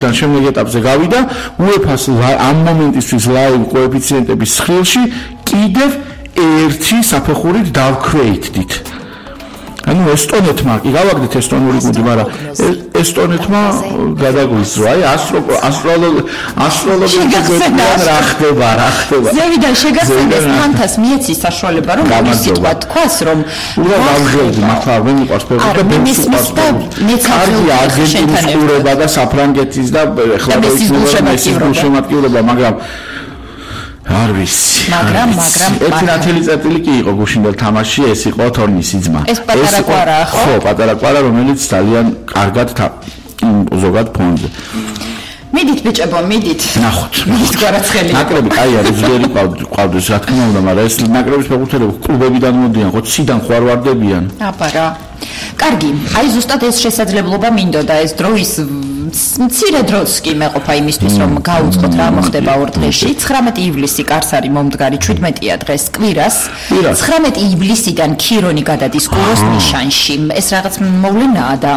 შემდეგ ეტაპზე გავიდა UEFA-ს ამ მომენტისთვის ლაივ კოეფიციენტების სხილში კიდევ ერთი საფეხურით დავქვეითდით. ანუ ესტონეთმა კი გავაგდეთ ესტონური გუნდი, მაგრამ ესტონეთმა გადაგვიზრვა. აი ასტროლოგიიდან რა ხდება. ზევიდან შეგახსენეს ფანტას მიეცის საშუალება, რომ ის სიტყვა თქვას, რომ დავჟევდი მართლა არ მიყვარს ფეხბურთი და მეც არგენტინის ყურება და საფრანგეთის და ეხლა მესის გულშემატკივრება, მაგრამ არ ვიცი. მაგრამ ერთი ნათელი წერტილი კი იყო გუშინდელ თამაშში, ეს იყო თორნისის ძმა. ეს პატარა კვარაა, ხო? ხო, პატარა კვარა, რომელიც ძალიან კარგად ზოგად ფონზე. მიდით ბიჭებო, მიდით. ნახოთ. მიდით გვარაცხელი. ნაკრები კაი არის, ძველი ყავდეს, რა თქმა უნდა, მაგრამ ეს ნაკრების ფეხბურთელები კლუბებიდან მოდიან, ხო, ციდან ხო არ ვარდებიან. აბარა. კარგი, აი ზუსტად ეს შესაძლებლობა მინდოდა, ეს დროის მცირე დროც კი მეყოფა იმისთვის, რომ გაუწყოთ რა მოხდება ორ დღეში. 19 ივლისი კარს არის მომდგარი, 17-ია დღეს კვირას. 19 ივლისიდან ქირონი გადადის კუროს ნიშანში. ეს რაღაც მოვლენაა და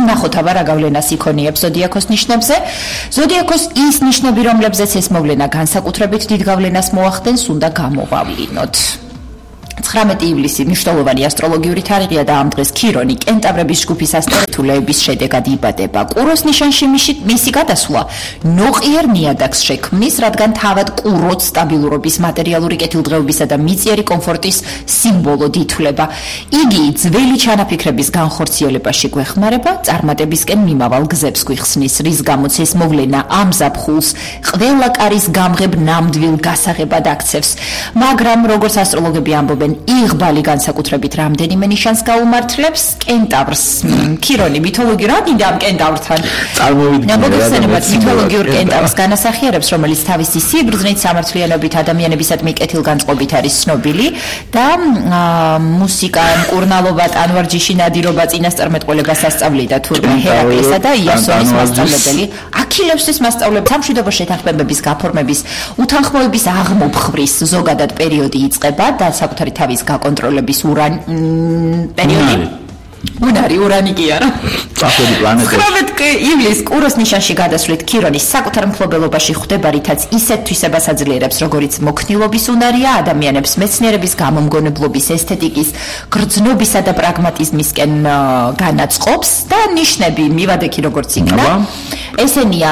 ნახოთ აბა რა გავლენას იქონიებს ზოდიაქოს ნიშნებზე. ზოდიაქოს ის ნიშნები, რომლებზეც ეს მოვლენა განსაკუთრებით დიდ გავლენას მოახდენს, უნდა გამოვავლინოთ. 19 ივლისი მნიშვნელოვანი ასტროლოგიური თარიღია და ამ დღეს ქირონი კენტავრების ჯგუფის ასტერეთულეების შედეგად იბადება. კუროს ნიშანში მისი გადასვლა ნოყიერ ნიადაგს შექმნის, რადგან თავად კუროც სტაბილურობის, მატერიალური კეთილდღეობისა და მიწიერი კომფორტის სიმბოლოდ ითვლება. იგი ძველი ჩანაფიქრების განხორციელებაში გვეხმარება, წარმატებისკენ მიმავალ გზებს გვიხსნის, რის გამოც ეს მოვლენა ამ ზაფხულს ყველა კარის გამღებ ნამდვილ გასაღებად აქცევს. მაგრამ როგორც ასტროლოგები ამბობენ, იღბალი განსაკუთრებით რამდენიმე ნიშანს გაუმართლებს. კენტავრს ქირონი მითოლოგიურ რა მინდა ამ კენტავრთან მოგეხსენებათ მითოლოგიურ კენტავრს განასახიერებს, რომელიც თავისი სიბრძნით, სამართლიანობით, ადამიანებისადმი კეთილგანწყობით არის ცნობილი და მუსიკა, მკურნალობა, ტანვარჯიში, ნადირობა, წინასწარმეტყველებას ასწავლიდა თურმე ჰერაკლისა და იასონის მასწავლებელი. აქილევსის მასწავლებელი სამშვიდობო შეთანხმებების გაფორმების, უთანხმოების აღმოფხვრის ზოგადად პერიოდი იწყება და საკუთარი თავის გაკონტროლების პერიოდი. ურანი კი არა. წახები პლანეტა. 19 ივლისს კუროს ნიშანში გადასვლით ქირონის საკუთარ მფლობელობაში ხვდება, რითაც ისეთ თვისებას აძლიერებს, როგორიც მოქნილობის უნარია, ადამიანებს მეცნიერების, გამომგონებლობის, ესთეტიკის, გრძნობისა და პრაგმატიზმისკენ განაწყობს და ნიშნები მივადექი როგორც იქნა. ესენია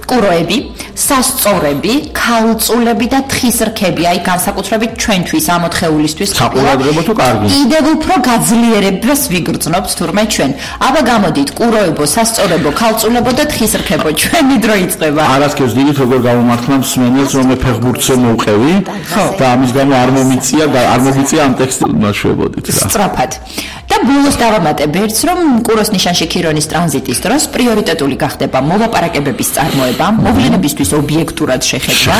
კუროები, სასწორები, ქალწულები და თხის რქები, აი განსაკუთრებით ჩვენთვის ამ ოთხეულისთვის საყურადღებო თუ კარგი. კიდევ უფრო გაძლიერებას ვიგრძნობთ თურმე ჩვენ. აბა გამოდით, კუროებო, სასწორებო, ქალწულებო და თხის რქებო, ჩვენი დრო იწყება. არასკევს დიდით როგორ გამომართლა მსმენელს, რომ მე ფეხბურთზე მოვყევი და ამის გამო არ მომიწია ამ ტექსტს ნაშვებოდით რა. სწრაფად. და ბოლოს დავამატებ ერთს, რომ კუროს ნიშანში ქირონის ტრანზიტის დროს პრიორიტეტული გახდება მოლაპარაკებების წარმოება, მოვლენებისთვის ობიექტურად შეხედვა,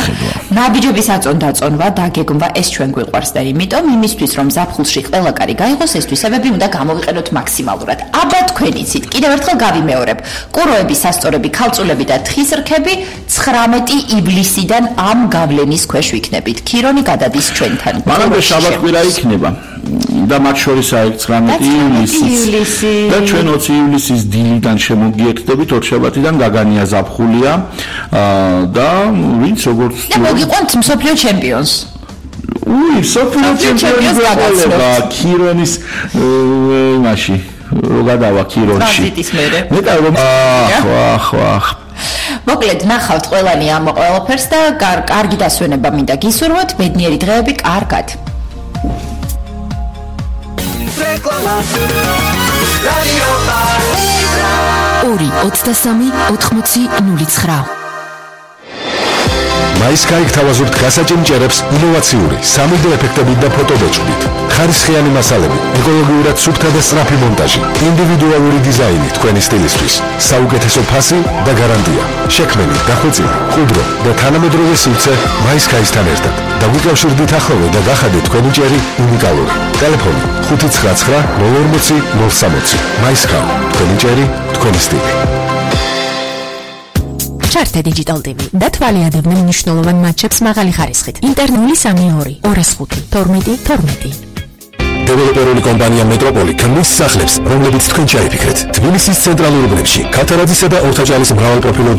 ნაბიჯების აწონ-დაწონვა, დაგეგმვა, ეს ჩვენ გვიყვარს და იმიტომ იმისთვის, რომ ზაფხულში ყველა კარი გაიღოს, ეს თვისებები უნდა გამოვიყენოთ მაქსიმალურად. აბა თქვენ იცით, კიდევ ერთხელ გავიმეორებ. კუროები, სასწორები, ქალწულები და თხის რქები 19 ივლისიდან ამ გავლენის ქვეშ ვიქნებით. ქირონი გადადის ჩვენთან. მაგრამ შაბათ-კვირა იქნება. და მათ შორისაა 19 ივლისი და ჩვენ 20 ივლისის დილიდან შემოგიერთდებით, ორშაბათიდან გაგანია ზაფხულია და ვინც როგორც და მოგიყვანთ მსოფლიო ჩემპიონს. მსოფლიო ჩემპიონს გაგაცნობა ქირონის იმაში რო გადავა ქირონში. მეტად რომ ახ მოკლედ ნახავთ ყველანი ამ ყველაფერს და კარგი დასვენება მინდა გისურვოთ, ბედნიერი დღეები, კარგად. 2-23-80-09 მაისკაიკ თავაზურთ გასაჭიმჭერებს ინოვაციური 3D ეფექტებით და ფოტობეჭდით. ხარისხიანი მასალები, ეკოლოგიურად სუფთა და სწრაფი მონტაჟი, ინდივიდუალური დიზაინი თქვენი სტილისთვის, საუკეთესო ფასი და გარანტია. შექმნილი, დახვეწილი, მყუდრო და თანამედროვე სივრცე მაისკაისთან ერთად. დაგვიკავშირდით ახლოვე და გახადეთ თქვენი ჭერი უნიკალური. ტელეფონი 590-040-060. მაისკაუ, თქვენი ჭერი, თქვენი სტილი. ჩართე Digital TV და თვალიადებდნენ მნიშვნელოვან მატჩებს მაღალი ხარისხით. ინტერნული 32 205 12 12. დეველოპერული კომპანია მეტროპოლი ქმნის სახლებს, რომლებიც თქვენ ჩაიფიქრეთ. თბილისის ცენტრალურ უბნებში, ქათარაძისა და ორთაჭალის მრავალპროფილურ